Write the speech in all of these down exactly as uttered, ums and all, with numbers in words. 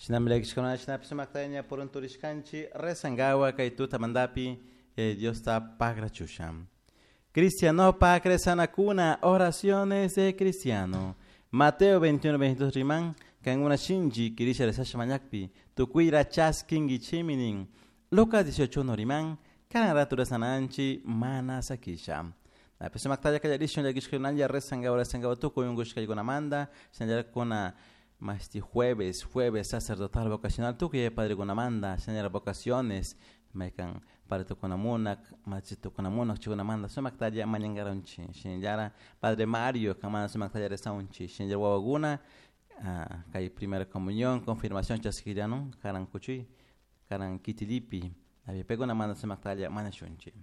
Shinami llakishkuna shinapish sumaktaña purunturishkanchik rezankawa kay tutamantapi eh, Diosta pagrachusha. Cristianopak rezanakuna, oraciones de cristiano. Mateo veintiuno veintidós riman, kankuna shinchi kirisha rezasha mañakpi, tukuyra chaskinkichimi nin. Lucas dieciocho uno riman, kanan ratu rezananchi mana sakisha. Napi sumaktalla kallarishun llakishkunalla rezankawa rezankawa tukuy unkushkaykunamanta, shinallara masti jueves, jueves sacerdotal vocacional tukuy padrekunamanta, shinallara vocaciones, maykan padre tukunamunak, machi tukunamunak chaykunamanta sumaktalla mañankaranchik, shinallara padre Mario kamana sumaktalla rezaunchik, shinallara wawakuna kay primera comunión, confirmación chaskillanun, karan kuchuy, karan kitilipi, paykuna sumaktalla mañashunchik.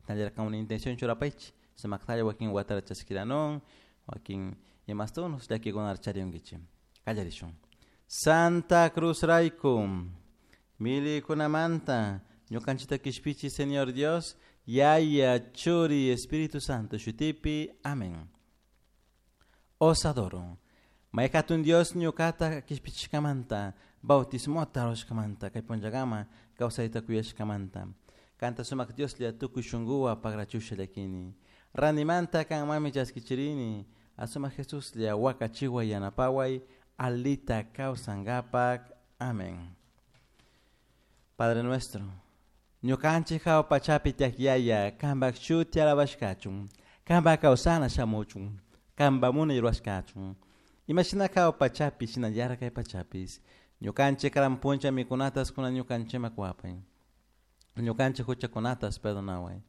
Shinallara kan una intención churapaychik, sumaktalla wakin watara chaskiranun, wakin imastunos llakikunara charinkichik. Kallarishun. Santa Cruz rayku, milikunamanta, ñukanchikta kishpichi Señor Dios, Yaya, Churi, Espíritu Santo, shutipi. Amén. Os adoro. May hatun Dios ñukata kishpichishkamanta, bautismota rurashkamanta, kay punllakama kawsayta kuyashkamanta. Kanta sumak Dioslla tukuy shunkuwan pagrachusha llakini. Ranimanta kanmanmi chaskichirini, asumak Jesuslla wakachiway yanapaway, alita kawsankapak. Amén. Padre nuestro, ñukanchik hawa pachapi tiyak Yaya, kanpak shuti alabashkachun, kanpak kawsana shamuchun, kanpak munay rurashkachun. Imashina hawa pachapi, shinallara kay pachapis. Ñukanchik karan puncha mikunatas kuna ñukanchikman kuwapay. Ñukanchik huchakunatas perdonaway.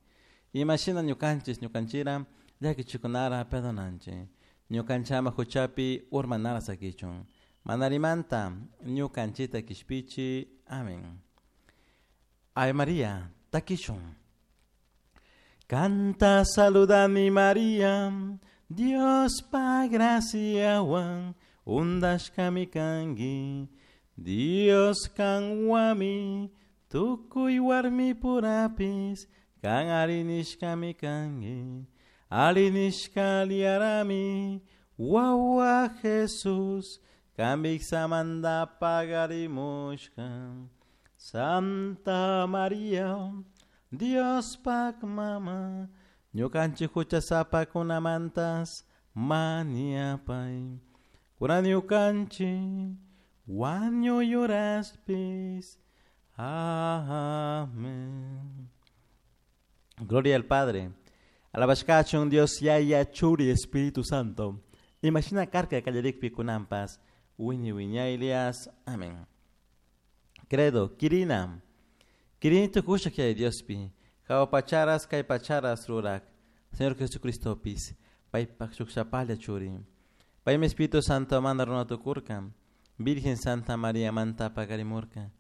Imashina ñukanchik ñukanchira llakichikunara perdonanchik. Ñukanchama huchapi urmanara sakichun. Manarimanta ñukanchita kishpichi. Amén. Ave María, takishun. Canta saludami María, Dios pa graciawan, undashkami kanki, Dios kanwami, tukuy warmi purapis, kan arinishkami kanki, arinishka liarami, wawa Jesús, kamiksamanta pagarimushka. Santa María, Dios pak mama, ñukanchik huchasapakunamantas mañapay. Kunan ñukanchik wañuy uraspis. Amén. Gloria al Padre. Alabashkachun Dios Yaya Churi Espíritu Santo. Imashina karka kallarikpi kunanpas. Wiñay wiñaylias. Amén. Credo, Kirina. Kirini tukushak Yaya Diospi. Hawa pacharas kay pacharas rurak. Señor Jesucristopis. Paypak shukshapalla churi. Paymi Espíritu Santo manda runa tukurka. Virgen Santa María manta pakarimurka.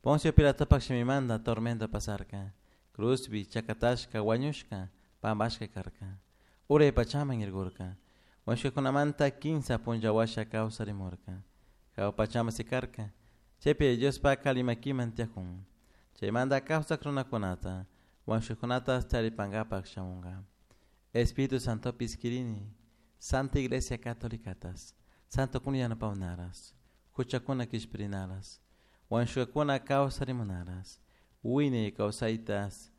Poncio Pilatopak shimimanta tormento pasarka. Cruzpi chakatashka wañushka pampashka karka. Uray pachaman irkurka. Wañushkakunamanta kinsa punlla washa kawsarimurka. Hawa pachaman sikarka. Chaypi Diospak alli makiman tiyakun. Chaymanta kawsak runakunata, wañushkakunata charipankapak shamunka. Espíritu Santopis kirini, Santa Iglesia Católicatas, Santokuna yanapawnaras, huchakuna kishpirinaras, wañushkakuna kawsarimunaras, wiñay kawsaytas